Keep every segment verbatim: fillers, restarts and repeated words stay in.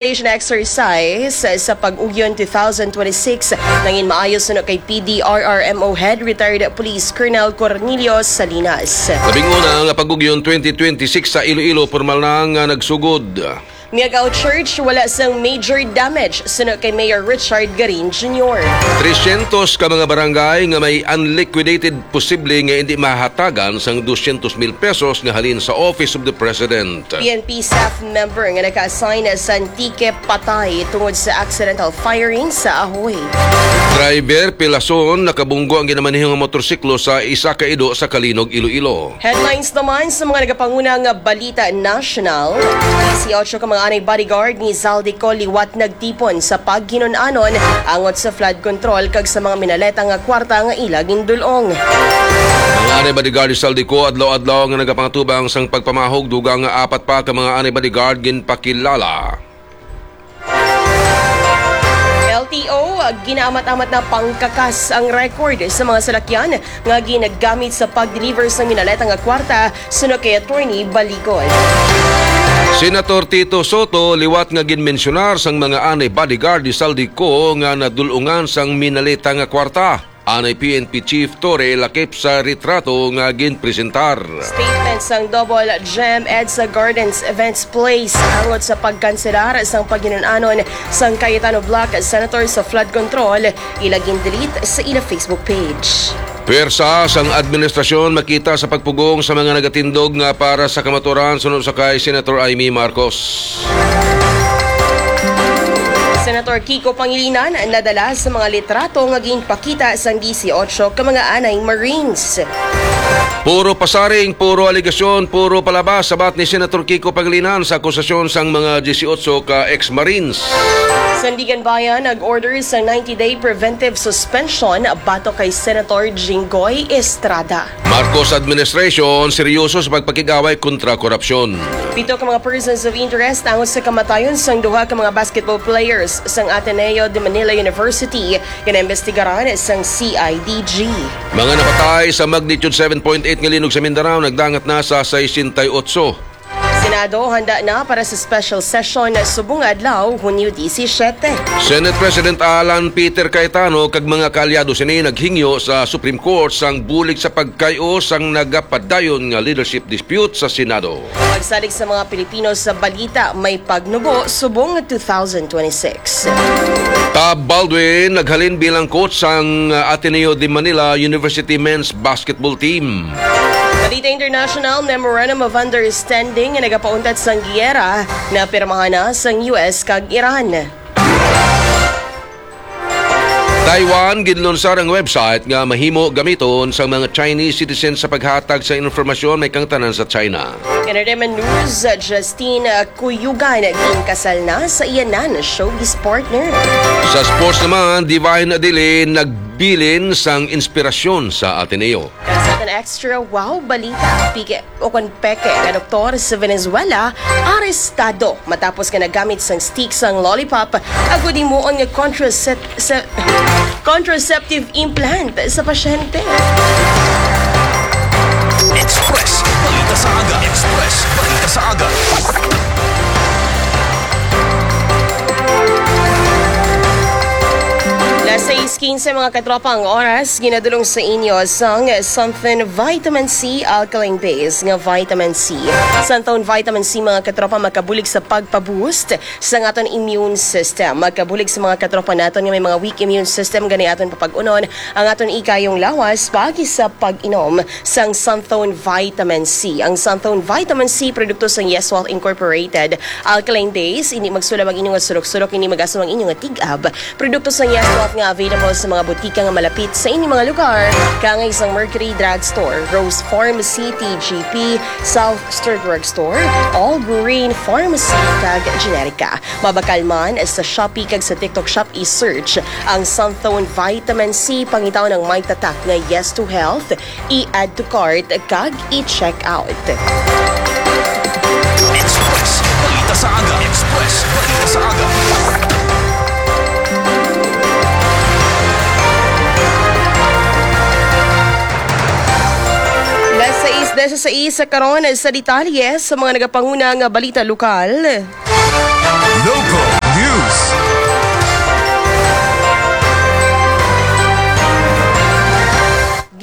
Station exercise sa Pag-Ugyon two thousand twenty-six nangin maayo suno kay P D R R M O Head Retired Police Colonel Cornelio Salinas. Labing una nga Pag-Ugyon twenty twenty-six sa Iloilo, pormal na nga nagsugod. Miagao Church, wala sang major damage suno kay Mayor Richard Garin Junior. Tresyentos ka mga barangay nga may unliquidated posible nga hindi mahatagan sang dosyentos mil pesos nga halin sa Office of the President. P N P staff member nga naka-assign sa Antique patay tungod sa accidental firing sa ahoy. Driver pilason, nakabunggo ang ginamaneho nga motorsiklo sa isa ka ido sa Calinog, Iloilo. Headlines naman sa mga nagapanguna nga balita national. Dieciocho ka mga anay bodyguard ni Zaldy Co liwat nagtipon sa paghinun-anon angot sa flood control kag sa mga minaleta nga kwarta nga ila gindul-ong. Mga anay bodyguard ni Zaldy Co adlaw-adlaw nga nagapangatubang sang pagpamahog, dugang nga apat pa ka mga anay bodyguard ginpakilala. L T O, ginaamat-amat na pangkakas ang record sa mga salakyan nga ginagamit sa pag-deliver sa minaleta nga kwarta, suno kay Attorney Balikod. Senator Tito Soto liwat nga ginmensyonar sang mga anay bodyguard ni Zaldy Co nga nadul-ungan sang minaleta nga kwarta. Anay P N P Chief Torre lakip sa retrato nga ginpresentar. Statement sang Double Gem EDSA Gardens Events Place angot sa pagkanselar sang paghinun-anon sang Cayetano Bloc Senator sa flood control, ila gin-delete sa ila Facebook page. Pwersa sang administrasyon makita sa pagpugong sa mga nagatindog nga para sa kamaturan suno sa kay Senator Imee Marcos. Senator Kiko Pangilinan nadala sa mga litrato nga ginpakita sang dieciocho ka mga anay Marines. Puro pasaring, puro alegasyon, puro palabas, sabat ni Senator Kiko Pangilinan sa akusasyon sang mga dieciocho ka ex-Marines. Sandiganbayan nag-order sa ninety-day preventive suspension batok kay Senator Jinggoy Estrada. Marcos administration seryoso sa pagpakig-away kontra korupsyon. Pito ka mga persons of interest angot sa kamatayon sang duha ka mga basketball players sang Ateneo de Manila University nga naimbestigaran sang C I D G. Mga napatay sa magnitude seven point eight nga linog sa Mindanao nagdangat na sa sesenta y ocho. Senado handa na para sa special session subong nga adlaw, Hunyo disisiete. Senate President Alan Peter Cayetano kag mga kaalyado sini naghingyo sa Supreme Court sang bulig sa pagkay-o sang nagapadayon nga leadership dispute sa Senado. Pagsalig sa mga Pilipino sa balita, may pagnubo subong nga two thousand twenty-six. Tab Baldwin naghalin bilang coach sang Ateneo de Manila University men's basketball team. Balita international, Memorandum of Understanding nga nagapauntat sang giyera napirmahan na sang U S kag Iran. Taiwan ginlunsar ang website nga mahimo gamiton sang mga Chinese citizens sa paghatag sa informasyon may kangtanan sa China. Entertainment news, Justine Cuyugan ginkasal na sa iya nan showbiz partner. Sa sports naman, Divine Adilin nagbilin sang inspirasyon sa Ateneo. Kag sa aton extra wow balita, pike o kon peke nga doktor sa Venezuela arestado matapos nga nagamit sang stick sang lollipop agud himuon nga contracept-, se-, contraceptive implant sa pasyente. Express Balita sa Aga. Express Balita sa Aga. Las sais quince, mga katropa, ang oras. Ginadulong sa inyo sang Xanthone Vitamin C Alkaline Base nga Vitamin C. Xanthone Vitamin C, mga katropa, makabulig sa pagpa-boost sa aton immune system. Makabulig sa mga katropa naton nga may mga weak immune system, gani aton papag-unon ang aton ikayong lawas pagi sa pag-inom sang Xanthone Vitamin C. Ang Xanthone Vitamin C, produkto sang Yes Wealth Incorporated. Alkaline base, hindi magsulab ang inyong surok-surok, hindi mag-aso ang inyong tig-ab. Produkto sang Yes Wealth nga available sa mga butika nga malapit sa inyong mga lugar, kaangay sang Mercury Drugstore, Rose Pharmacy, T G P, South Star Drugstore, All Green Pharmacy, kag Generica. Mabakal man sa Shopee kag sa TikTok Shop, i-search ang Xanthone Vitamin C, pangitaon ang may tatak nga Yes to Health, i-add to cart, kag i-check out. Express Balita sa Aga. Express Balita sa Aga. Las sais disisais sa karon sa detalye sa mga nagapanguna nga balita lokal. Local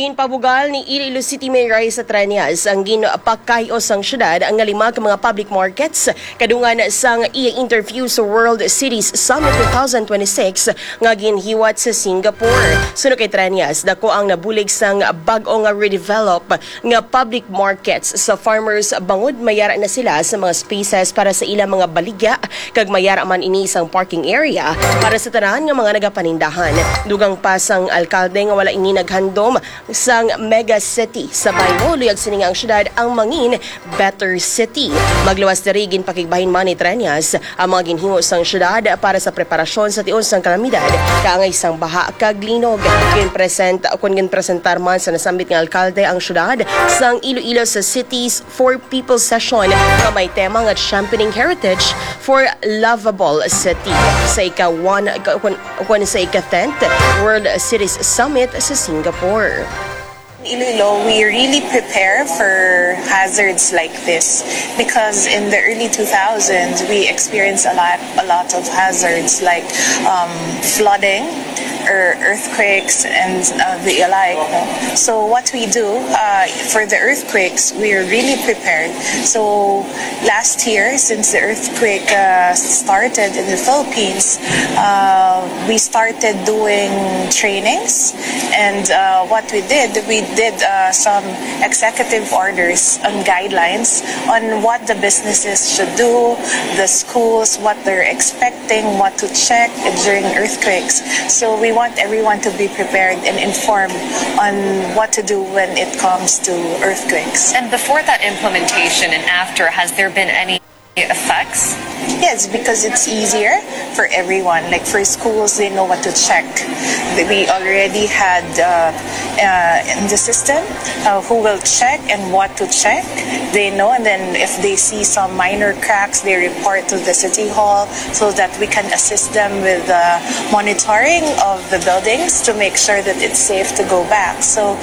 Ginpabugal ni Iloilo City Mayor Raisa Treñas ang ginpakay-o sang syudad nga lima ka mga public markets kadungan sang iya interview sa World Cities Summit two thousand twenty-six nga ginhiwat sa Singapore. Suno kay Treñas, dako ang nabulig sang bag-o nga redevelop nga public markets sa farmers bangod mayara na sila sa mga spaces para sa ilang mga baligya kag mayara man ini sang parking area para sa tanan nga mga nagapanindahan. Dugang pa sang alkalde nga wala ini naghandom sang mega city sa Bayngo, luyag sini nga ang syudad ang mangin better city. Magluwas diri, ginpakigbahin man ni Treñas ang mga ginhimo sang syudad para sa preparasyon sa tion sang kalamidad kaangay sang baha kag linog. Ginpresent, kun ginpresentar man sa nasambit nga alkalde ang syudad sang Iloilo sa Cities for People session nga may tema nga Championing Heritage for Lovable City sa ika one, kun, kun sa ika tenth World Cities Summit sa Singapore. Iloilo, we really prepare for hazards like this because in the early two thousands, we experienced a lot, a lot of hazards like um, flooding or earthquakes and uh, the alike. No? So what we do uh, for the earthquakes, we are really prepared. So last year, since the earthquake uh, started in the Philippines, uh, we started doing trainings. And uh, what we did, we did uh, some executive orders and guidelines on what the businesses should do, the schools, what they're expecting, what to check during earthquakes. So we want everyone to be prepared and informed on what to do when it comes to earthquakes. And before that implementation and after, has there been any effects? Yes, because it's easier for everyone. Like for schools, they know what to check. We already had uh, uh, in the system uh, who will check and what to check. They know, and then if they see some minor cracks, they report to the city hall so that we can assist them with uh, monitoring of the buildings to make sure that it's safe to go back. So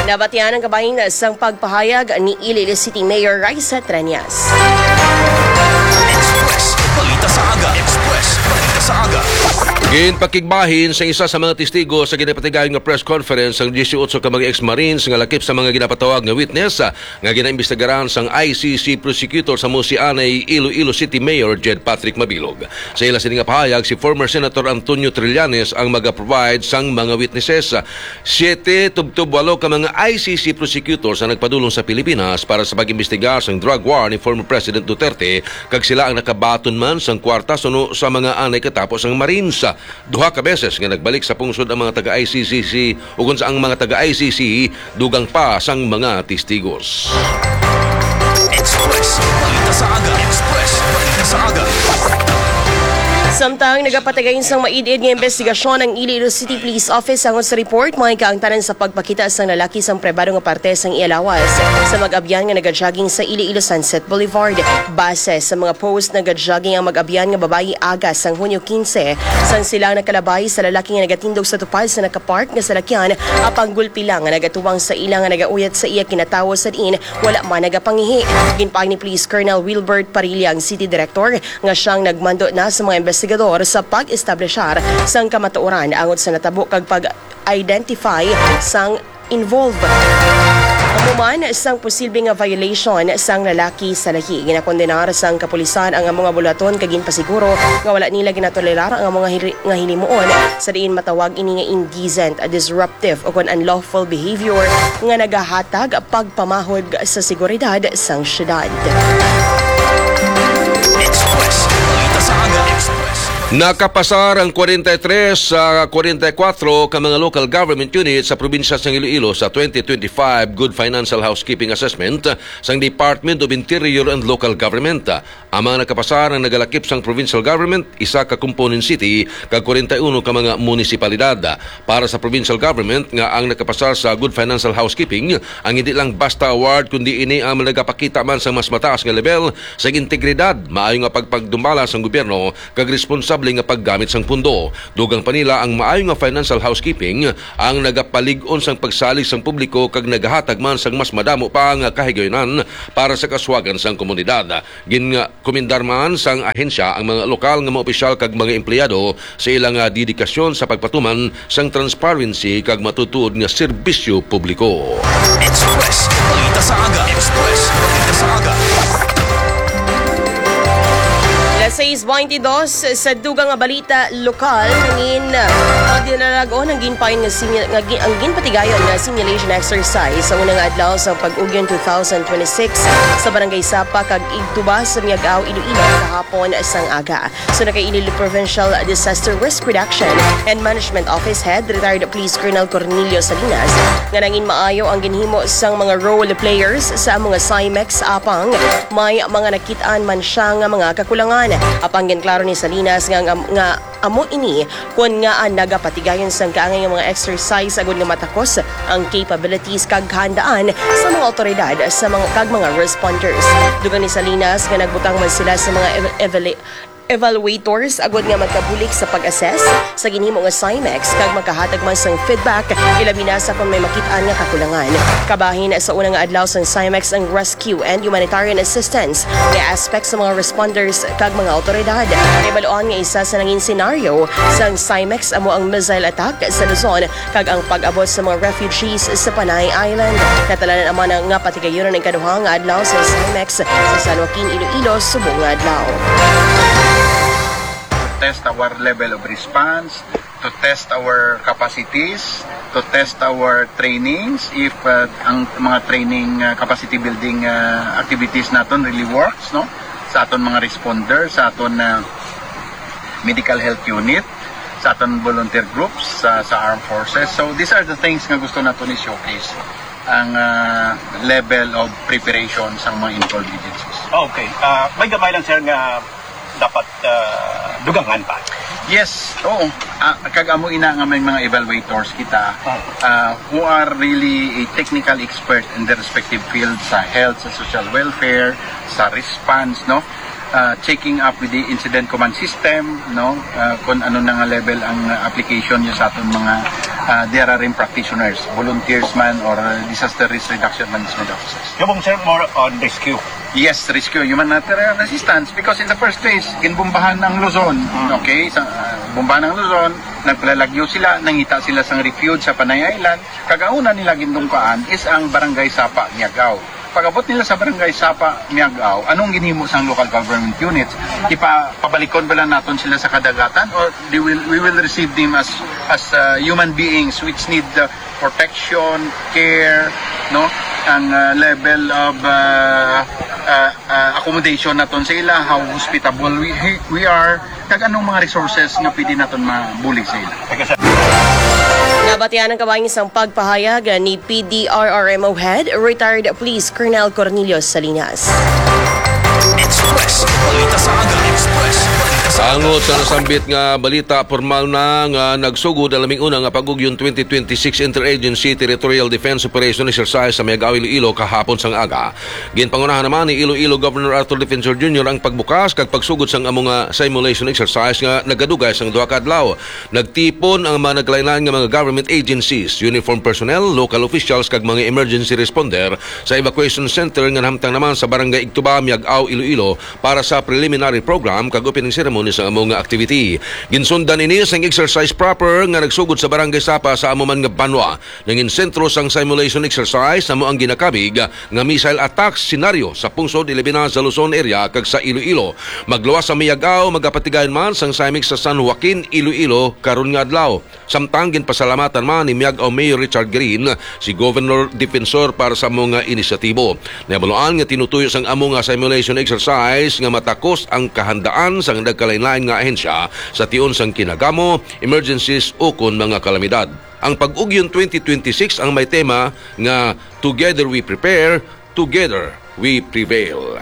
Nabatian ang kabahin sang pagpahayag ni Iloilo City Mayor Raisa Treñas. Express Balita sa Aga. Express Balita sa Aga. Ginpakigbahin sa isa sa mga testigo sa ginapatigayon nga press conference ang dieciocho ka mga ex-marines nga lakip sa mga ginapatawag nga witness, ah, nga ginaimbestigaran sang I C C prosecutor sa Musianay, Iloilo City Mayor Jed Patrick Mabilog. Sa ila sini nga pahayag, si former Senator Antonio Trillanes ang maga-provide sang mga witnesses. Siyete tubtob walo ka mga I C C prosecutors ang nagpadulong sa Pilipinas para sa pag-imbestigar sang drug war ni former President Duterte, kag sila ang nakabaton man sang kwarta suno sa mga anay katapo sang Marines. Duha ka beses nga nagbalik sa pungsod ang mga taga-I C C C, ukon sa ang mga taga-I C C dugang pa sang mga testigos. Express Balita sa Aga. Express Balita sa Aga. Samtang nagapatigay sang maid-id nga imbestigasyon ang Iloilo City Police Office, angot sa report, mga kaangtanan sa pagpakita sang lalaki sang pribado nga parte sang iya lawas sa mag-abyan nga nagajogging sa Iloilo Sunset Boulevard. Base sa mga post, nagajogging ang mag-abyan nga babayi aga sang Hunyo quince, sang sila ang nakalabay sa lalaki nga nagatindog sa tupad sa nakapark nga salakyan, apang gulpi lang nga nagatuwang sa ila nga nagauyat sa iya kinatawo sa diin wala man nagapangihi. Ginpaagi ni Police Colonel Wilbert Parilla, ang City Director, nga siyang nagmando na sa mga investigador sa pag-establishar sang kamatuoran angot sa natabo kag pag-identify sang involved. Amo man sang posible nga violation sang lalaki sa lahi, ginakondenar sang kapulisan ang amo nga buluhaton kag ginpasiguro nga wala nila ginatolerar ang amo nga hili-, nga hinimuon, sa diin matawag ini nga indecent, disruptive, o kon unlawful behavior nga nagahatag pagpamahog sa seguridad sang syudad. Express Balita sa Aga. Express. Nakapasar ang kwarenta y tres sa kwarenta y kuwatro ka mga local government unit sa probinsya sang Iloilo sa twenty twenty-five Good Financial Housekeeping Assessment sang Department of Interior and Local Government. Ang mga nakapasar ang nagalakip sang provincial government, isa ka component city, kag kwarenta y uno ka mga munisipalidad. Para sa provincial government nga ang nakapasar sa Good Financial Housekeeping, ang hindi lang basta award, kundi ini ang nagapakita man sang mas mataas nga level sang integridad, maayo nga pagpagdumbala sang gobyerno, kag responsable simple nga paggamit sang pundo. Dugang pa nila, ang maayo nga financial housekeeping ang nagapalig-on sang pagsalig sang publiko kag nagahatag man sang mas madamo pa nga kahigayunan para sa kaswagan sang komunidad. Ginkomendar man sang ahensya ang mga lokal nga mga opisyal kag mga empleyado sa ilang, ah, dedikasyon sa pagpatuman sang transparency kag matutuod nga serbisyo publiko. Express Balita sa Aga. Express Balita sa Aga. Las sais baintidos sa dugang nga balita lokal, nangin, ah, dinalagon ang ginpayon nga sinya-, nga gi-, ang ginpatigayon nga simulation exercise sa unang adlaw sa pag-ugyon two thousand twenty-six sa Barangay Sapa kag Igtuba sa Miag-ao, Iloilo, kahapon sang aga. Suno kay Iloilo Provincial Disaster Risk Reduction and Management Office Head, retired Police Colonel Cornelio Salinas, nga nangin maayo ang ginhimo sang mga role players sa amo nga Simex, apang may mga nakit-an man siya nga mga kakulangan. Apang ginklaro ni Salinas nga, nga, nga amo ini kon ngaa nagapatigayon sang kaangay nga mga exercise agud nga matakos ang capabilities kag kahandaan sa mga awtoridad sa mga, kag mga responders. Dugang ni Salinas nga nagbutang man sila sa mga ev-, evali-, evaluators agud nga magkabulig sa pag-assess sa ginhimo nga Simex kag makahatag man sang feedback, ilabi na sa kon may makit-an nga kakulangan. Kabahin sa una nga adlaw sang Simex ang rescue and humanitarian assistance nga aspect sa mga responders kag mga awtoridad. Nahibaluan nga isa sa nangin senaryo sang Simex amo ang missile attack sa Luzon kag ang pag-abot sa mga refugees sa Panay Island. Natalanan man nga patigayunon ang ikaduha nga adlaw sa Simex sa San Joaquin, Iloilo, subong nga adlaw. Test our level of response, to test our capacities, to test our trainings, if uh, ang mga training uh, capacity building uh, activities naton really works, no? Sa aton mga responder, sa aton uh, medical health unit, sa aton volunteer groups, sa, sa armed forces. So these are the things nga gusto naton i-showcase, ang uh, level of preparation sa mga involved agencies. Okay. Ah, may gamay lang, sir, nga dapat ah, dugangan pa. Yes, oo. Ah, kag amo ina nga may mga evaluators kita uh, who are really a technical expert in their respective field sa health, sa social welfare, sa response, no? Uh, checking up with the incident command system, no? Uh, kung ano na nga level ang application niyo sa aton mga uh, D R R M practitioners, volunteers man or uh, disaster risk reduction management officers. Kabong, sir, more on rescue. Yes, rescue, humanitarian assistance, because in the first place, ginbombahan ang Luzon. Okay, sa uh, bombahan ang Luzon, nagpalalagyo sila, nangita sila sang refuge sa Panay Island. Kag ang una nila gindungkaan is ang Barangay Sapa, Miagao. Pag-abot nila sa Barangay Sapa, Miagao, anong ginhimo sang local government units? Ipapabalikon bala naton sila sa kadagatan, or they will we will receive them as as uh, human beings which need uh, protection, care, no? Ang uh, level of uh, uh, uh, accommodation naton sa ila, how hospitable we, we are, kag anong mga resources nga pwede naton mabulig sa ila. Nabatian ang kabahin sang pagpahayag ni P D R R M O Head, retired Police Colonel Cornelio Salinas. Express Balita sa Aga. Express Balita sa Aga. Angot sa nasambit nga balita, pormal na nga nagsugod ang laming una nga pag-ugyon twenty twenty-six Interagency Territorial Defense Operation Exercise sa Miagao, Iloilo kahapon sang aga. Ginpangunahan naman ni Iloilo Governor Arthur Defensor Junior ang pagbukas kag pagsugod sang amo nga simulation exercise nga nagadugay sang duha ka adlaw. Nagtipon ang mga nagkalain-lain nga mga government agencies, uniform personnel, local officials kag mga emergency responder sa evacuation center nga nahamtang naman sa Barangay Igtuba, Miagao, Iloilo para sa preliminary program kag opening ceremony sa amo nga activity. Ginsundan ini sang exercise proper nga nagsugod sa Barangay Sapa sa amo man nga banwa. Nangin sentro sang simulation exercise amo ang ginakabig nga missile attack scenario sa pungsod, ilabi na sa Luzon area kag sa Iloilo. Magluwas sa Miagao, magapatigayon man sang Simex sa San Joaquin, Iloilo karon nga adlaw. Samtang ginpasalamatan man ni Miagao Mayor Richard Green si Governor Defensor para sa amo nga inisyatibo. Nabaluan nga tinutuyo sang amo nga simulation exercise nga matakos ang kahandaan sang nagkalain-lain nga ahensya sa tion sang kinagamo, emergencies ukon mga kalamidad. Ang Pag-ugyon twenty twenty-six ang may tema nga Together We Prepare, Together We Prevail.